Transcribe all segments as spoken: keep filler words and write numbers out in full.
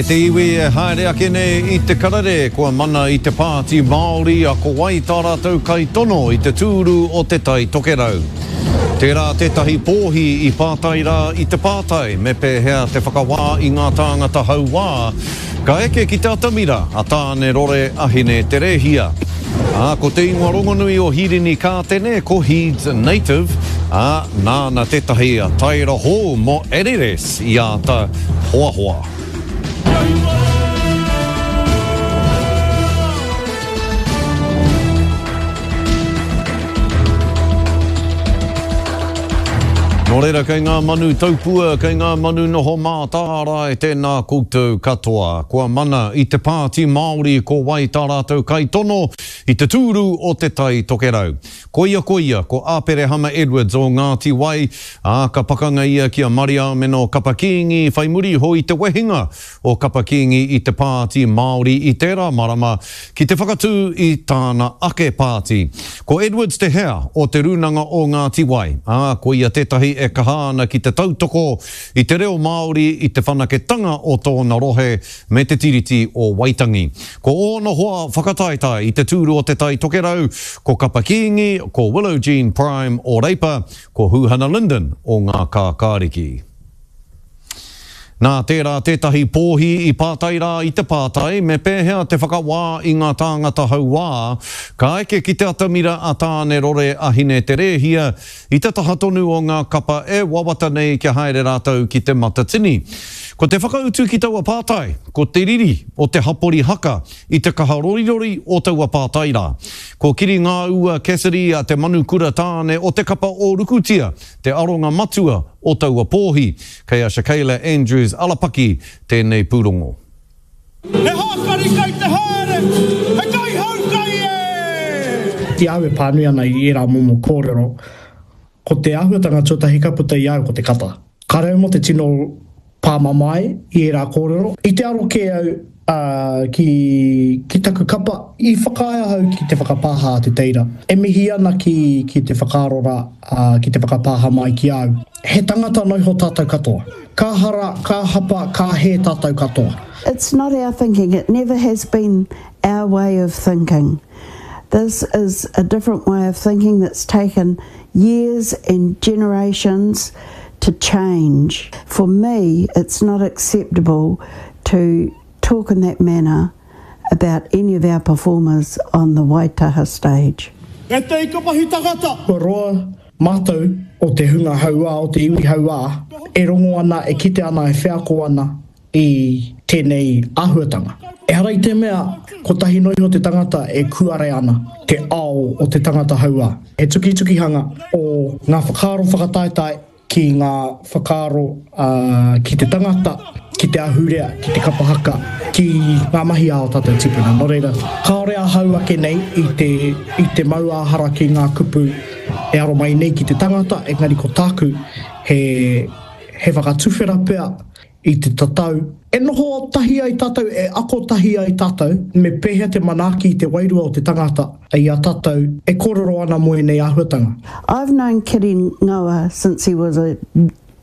Te iwi e haere ake nei i te karere kua mana i te Pāti Māori a ko wai tā rātou kaitono i te tūru o Te Tai Tokerau. Tērā tētahi pōhi i pātai rā i te pātai me pēhea te whakawā i ngā tāngata hauā ka eke ki te atamira a Tāne Rore a Hine Te Rēhia. Ā, ko te ingoa rongonui o Hirini Kātene ko Heed's Native, ā, nāna tētahi taera hou mō Adidas i āta hoahoa. Nō reira, kei ngā manu taupua, kei ngā manu noho mātārae, tēnā koutou katoa. Kua mana i te Pāti Māori ko wai tā rātou kaitono i te tūru o Te Tai Tokerau. Koia koia, ko Aperehama Edwards o Ngāti Wai, ā, ka pakanga ia ki a Mariāmeno Kapa Kīngi whai muri iho i te wehenga o Kapa Kīngi i te Pāti Māori i tērā marama ki te whakatū i tāna ake pāti. Ko Edwards te hea o Te Rūnanga o Ngāti Wai, ā, ko ia tētahi e kaha ana ki te tautoko i te reo Māori i te whanaketanga o tōna rohe me te Tiriti o Waitangi. Ko ōna hoa whakataetae i te tūru o Te Tai Tokerau, ko Kapa Kīngi, ko Willow Jean Prime o Reipa, ko Huhana Lyndon o Ngā Kākāriki. Nā, tērā tētahi pōhi i pātai rā i te pātai me pēhea te whakawā i ngā tāngata hauā ka eke ki te atamira a Tāne Rore a Hine Te Rēhia i te taha tonu o ngā kapa e wawata nei kia haere rātou ki te Matatini. Ko te whakautu ki taua pātai, ko te riri o te hapori haka i te kaha rorirori o taua pātai rā. Ko Kiri Ngāua Cassidy te manukura tāne o te kapa o Rukutia, te aronga matua o taua pōhi. Kei a Shakayla Andrews Alapaki tēnei pūrongo. He hākari kai te haere, he kaihau kai e! I a au e pānui ana i ērā momo kōrero, ko te āhuatanga tuatahi ka puta i a au ko te kata. Kāre au mō te tino pāmamae i ērā kōrero. I te aro kē au ki, ki taku kapa, i whakaae ahau ki te whakapāha a Te Teira. E mihi ana ki, ki te whakaaro rā, ki te whakapāha mai ki a au. He tangata noiho tātou katoa. Ka hara, ka hapa, ka hē tātou katoa. It's not our thinking, it never has been our way of thinking. This is a different way of thinking that's taken years and generations to change. For me, it's not acceptable to talk in that manner about any of our performers on the Waitaha stage. E te ika mahi tangata! Kua roa mātou o te hunga hauā, o te iwi hauā, e rongo ana, e kite ana, e wheako ana i tēnei āhuatanga. Ehara i te mea kotahi noa iho te tangata e kuare ana te ao o te tangata hauā. He tukitukihanga o ngā whakaaro whakataetae ki ngā whakaaro ki te tangata, ki te ahurea, ki te kapa haka, ki ngā mahi a ō tātou tīpuna. Nō reira, kāore ahau ake nei i te, i te mau ā-hara ki ngā kupu e aro mai nei ki te tangata, engari ko tāku he, he whakatuwhera pea i te tatau. E noho tahi ai tātou, e ako tahi ai tātou, me pēhea te manaaki i te wairua o te tangata i a tātou e kōrero ana mō ēnei āhuatanga. I've known Kiri Ngawa since he was a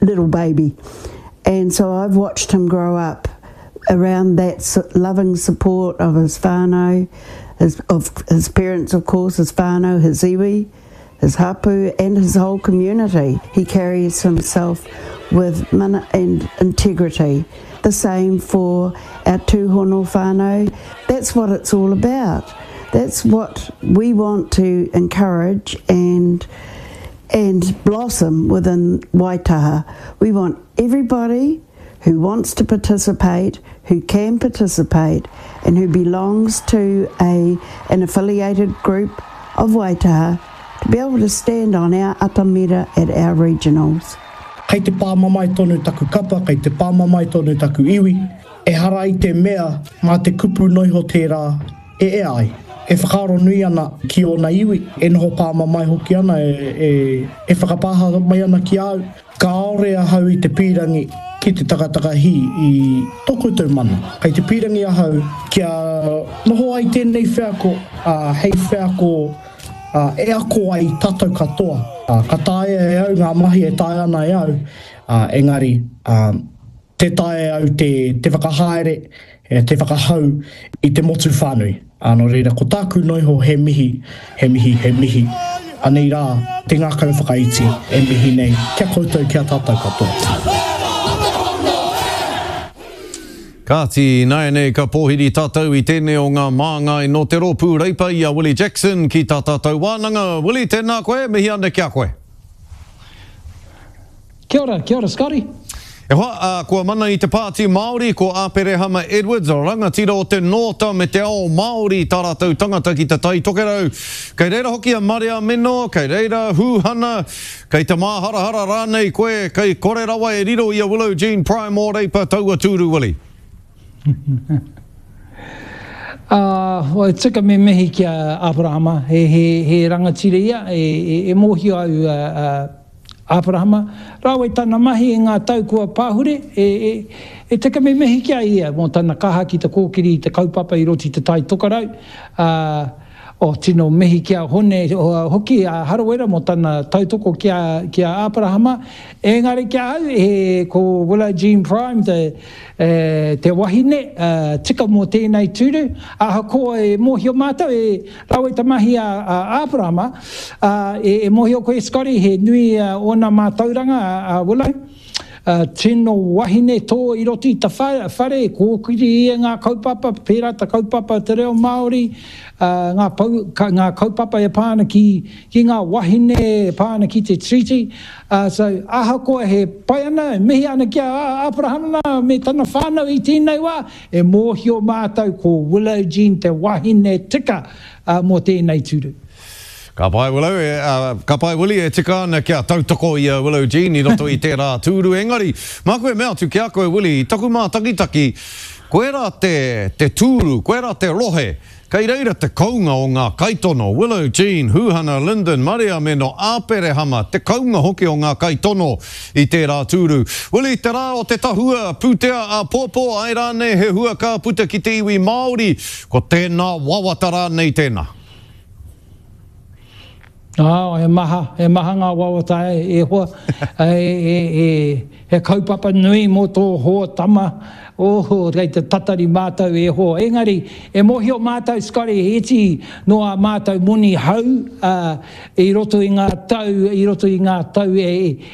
little baby and so I've watched him grow up around that loving support of his whānau, his, of his parents of course, his whānau, his iwi, his hapu and his whole community. He carries himself with mana and integrity. The same for our tūhono whānau. That's what it's all about. That's what we want to encourage and, and blossom within Waitaha. We want everybody who wants to participate, who can participate, and who belongs to a, an affiliated group of Waitaha to be able to stand on our atamira at our regionals. Kei te pāmamae tonu taku kapa, kei te pāmamae tonu taku iwi. Ehara i te mea mā te kupu noiho tērā e ea ai. E whakaaro nui ana ki ōna iwi, e noho pāmamae hoki ana, e, e, e whakapāha mai ana ki a au. Kāore ahau i te pīrangi ki te takatakahī i tō koutou mana. Kei te pīrangi ahau kia noho ai tēnei wheako, ā, hei wheako ā, e ako ai tātou katoa. Ā, ka taea e au ngā mahi e taea ana e au, ā, engari, ā, Tē taea e au te, te whakahaere, te whakahau i te motu whānui. Ā, nō reira, ko tāku noiho he mihi, he mihi, he mihi. Anei rā te ngākau whakaiti e mihi nei ki a koutou, ki a tātou katoa. Kāti, ināianei ka pōhiri tātou i tēnei o ngā māngai nō te rōpū Reipa i a Willie Jackson ki tā tātou wānanga. Willie, tēnā koe, mihi ana ki a koe. Kia ora, kia ora Scotty. E hoa, ā, kua mana i te Pāti Māori, ko Aperehama Edwards, rangatira o te Nōta me te ao Māori tā rātou tangata ki te Tai Tokerau. Kei reira hoki a Marea Meno, kei reira Hūhana, kei te māharahara rānei koe, kei kore rawa e riro i a Willow Jean Prime o Reipa taua tūru, Willie. Ā, e tika me mihi ki a Aperahama, he, he, he rangatira ia, e, e, e mōhio au a, a, Aperahama, rāua i tana mahi i ngā tau kua pahure, e, e, e tika me mihi ki a ia mō tana kaha ki te kōkiri i te kaupapa i roto i Te Tai Tokerau, ā, oh, tino mihi ki a Hone hoki a Harawira mō tana tautoko ki a, ki a Aperahama, engari ki a au, he, ko Willow Jean Prime te, e, te wahine, ā, tika mō tēnei tūru, ahakoa e mōhio mātou, e, Rawe te mahi a Aperahama, ā, e mōhio koe Scotty he nui ōna mātauranga a Willow, tino wahine tō i roto i te whare, kōkiri ia ngā kaupapa, pērā te kaupapa te reo Māori, ngā pou, ngā kaupapa e pā ana ki, ki ngā wahine e pā ana ki te Treaty, ā, so ahakoa he pai ana, e mihi ana ki a Aperahama me tana whānau i tēnei wā, E mōhio mātou ko Willow Jean te wahine tika mō tēnei tūru. Ka pai Willow, e, ka pai Willie, e tika ana kia tautoko i a Willow Jean i roto i tērā tūru. Engari, māku e mea atu ki a koe Willie, i taku mātakitaki, koirā te, te tūru, koirā te rohe Kei reira te kounga o ngā kaitono, Willow Jean, Huhana Lyndon, Mariameno, Aperehama, te kounga hoki o ngā kaitono i tērā tūru. Willie, te rā o te tahua pūtea āpōpō, āe rānei he hua ka puta ki te iwi Māori, ko tēnā wawata rānei tēnā? Ā, he maha, he maha ngā wawata e hoa, e, e, e, he kaupapa nui mō tō hoa tama, oho, kei te tatari mātou e hoa. Engari, e mōhio mātou, Scotty, he iti nō ā mātou moni hau, ā, i roto i ngā tau, i roto i ngā tau e,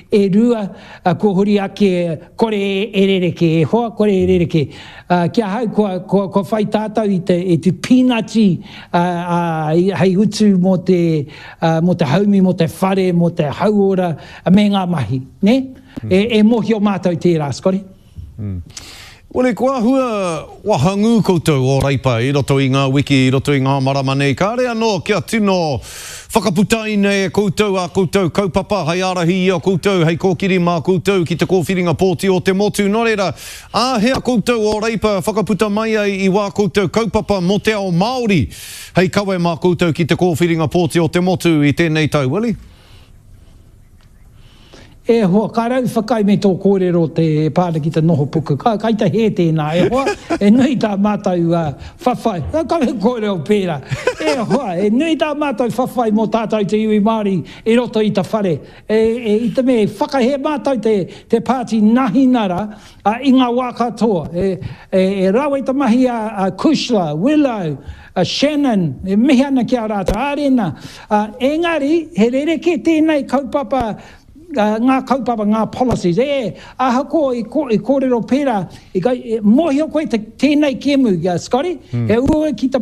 e rua, ā, kua huri ake, kore e rerekē, e hoa, kore e rerekē. Ā, ki ahau kua, kua, kua whai tātou i te, i te pīnati, ā, ā, hei utu mō te, ā, mō te haumi, mō te whare, mō te hauora, me ngā mahi, nē? E, e mōhio mātou tērā, Scotty. Mm. Willie, kua āhua wahangū koutou o Reipa i roto i ngā wiki, i roto i ngā marama nei. Kāre anō kia tino whakaputaina e koutou ā koutou kaupapa hei ārahi i a koutou, hei kōkiri mā koutou ki te kōwhiringa pōti o te motu. Nō reira, āhea koutou o Reipa whakaputa mai ai i wā koutou kaupapa mō te ao Māori hei kawe mā koutou ki te kōwhiringa pōti o te motu i tēnei tau, Willie? E hoa, ka rau whakaae me tō kōrero te e pā ana ki te noho puku. Ka, kai te hē tēnā, e hoa, e nui tā mātou whawhai. Ka rau kōrero pērā. E hoa, e nui tā mātou whawhai mō tātou te iwi Māori i roto i te whare. E, e, i te mea e whakahē mātou te, te pāti Nahinara, ā, i ngā wā katoa. E, e, e rawe te mahi a, a Cushla, Willow, a Shannon, e mihi ana ki a rātou, Ārena. Ā, engari, he rerekē tēnei kaupapa, ngā kaupapa, ngā policies, e, ahakoa i, i kōrero pērā, i, i, mōhio koe te, tēnei kēmu, Scotty, mm. he uaua ki te,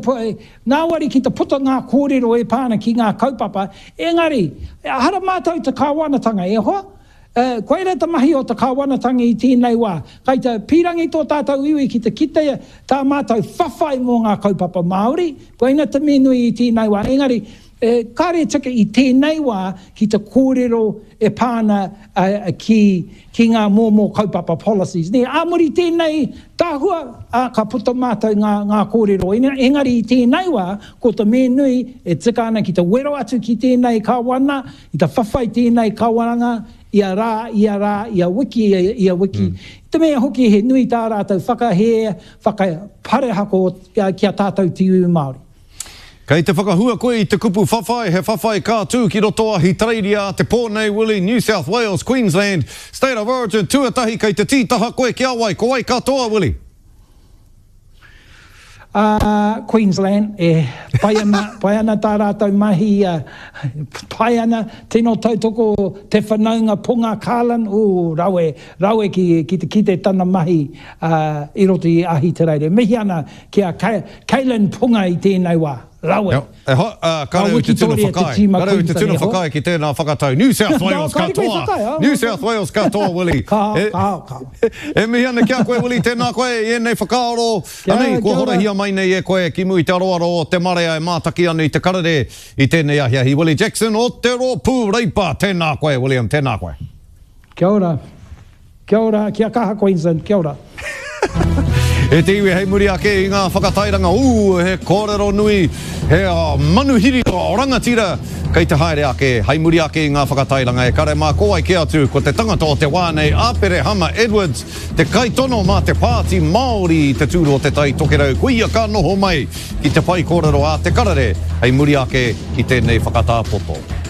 ngāwari ki te puta ngā kōrero e pā ana ki ngā kaupapa, engari, ehara mātou te kāwanatanga, e hoa, e, koira te mahi o te kāwanatanga i tēnei wā. Kai te pīrangi tō tātou iwi ki te kite tā mātou whawhai mō ngā kaupapa Māori, koina te mea nui i tēnei wā, engari, E, kāre tika i tēnei wā ki te kōrero e pā ana ki, ki ngā mōmō kaupapa policies. Nē, ā muri tēnei tahua, ā, ka puta mātou ngā, ngā kōrero. Engari i tēnei wā, ko te mea nui e tika ana ki te wero atu ki tēnei kawana, i te whawhai tēnei kawananga ia rā, ia rā, ia wiki, ia, ia wiki. Mm. I te mea hoki he nui tā rātou whakahē, whakaparehako ki a tātou te iwi Māori. Kei te whakahua koe i te kupu whawhai, he whawhai ka tū ki roto Ahitereiria a te pō nei, Willie, New South Wales, Queensland, State of Origin, tuatahi kei te tītaha koe ki a wai, ko wai ka toa, Willie? Uh, Queensland, e pai ana, pai ana tā rātou mahi, uh, pai ana, tino tautoko te whanaunga Ponga Karlin, ū, rawe, rawe ki, ki te kite tana mahi uh, i roto i Ahitereiria. Mihi ana ki a Kayln Ponga i tēnei wā. Rawe. E ho, uh, ka rau te tino whakaae. Ka rau te tino whakaae ki tēnā whakatau. New South Wales katoa. New South Wales katoa, Willie. Ka, ka, ka. E mihi ana ki a koe, Willie, tēnā koe i ēnei whakaaro. Anei, kua horahia mai nei e koe ki mua i te aroaro o te marea e mātaki ana i te karere i tēnei ahiahi. Willie Jackson o te rōpū Reipa. Tēnā koe, William, tēnā koe. Kia ora. Kia ora, kia kaha Queensland, kia ora. E te iwi hei muri ake i ngā whakatairanga, ū, he kōrero nui, he manuhiri rangatira kei te haere ake, hei muri ake i ngā whakatairanga e kare mā ko wai kē atu, ko te tangata o te wā nei, Aperehama Edwards, te kaitono mā te Pāti Māori i te tūru o Te Tai Tokerau, koia ka noho mai ki te whaikōrero a te karere hei muri ake i tēnei whakatāpoto.